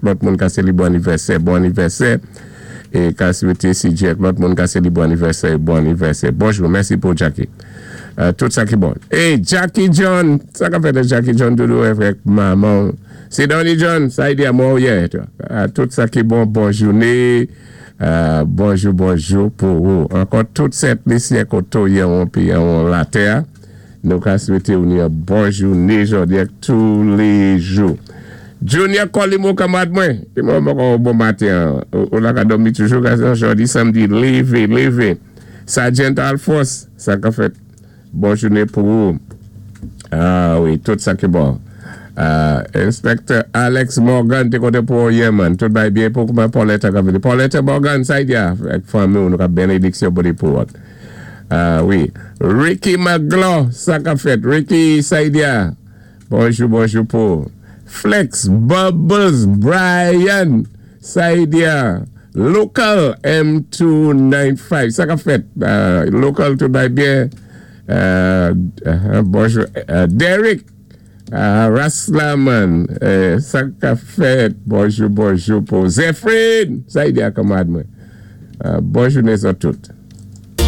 Lòt moun ka sélibwé anivèsè, bon anivèsè. É ka swété CJ ak lòt moun ka sélibwé anivèsè, bon anivèsè. Bonjou, mèsi pou Jackie. Tout sa ki bon. Hey, Jackie John, sa ka fèt Jackie John doudou avèk manman. Sidonie John, sa i di a mwen yè. Tout sa ki bon, bon jouné. Bonjou, bonjou pou ou. Ankò tout Sent Lisyen koto yon pi yon latè. Nou ka swété ou yon bon jouné jòdi ak tou lé jou. Junior Colimo kanmarad mwen. Di mwen bon bon maten. Ou la ka dòmi toujou gason jòdi samdi lévé lévé. Sergeant Alphonse, sa ka fèt. Bon jouné pou ou. Ah wi, tout sa ki bon. Inspector Alex Morgan, té kontan pou ou yè man. Tout bay byen pou kouman Paulette ka vini. Paulette Morgan, sa i di a, ak fanmi ou nou ka bénédiksyon pou ou. Ah wi. Ricky McGlaw, sa ka fèt. Ricky, sa i di a. Bonjou, bonjou pou. Flex Bubbles Brian, sa i di a. Local M295, sa ka fèt. Local tout bay byen. Bonjou. Derek Raslaman, sa ka fèt. Bonjou, bonjou pou Zephyrin, sa i di a kanmarad mwen. Bon jouné tout.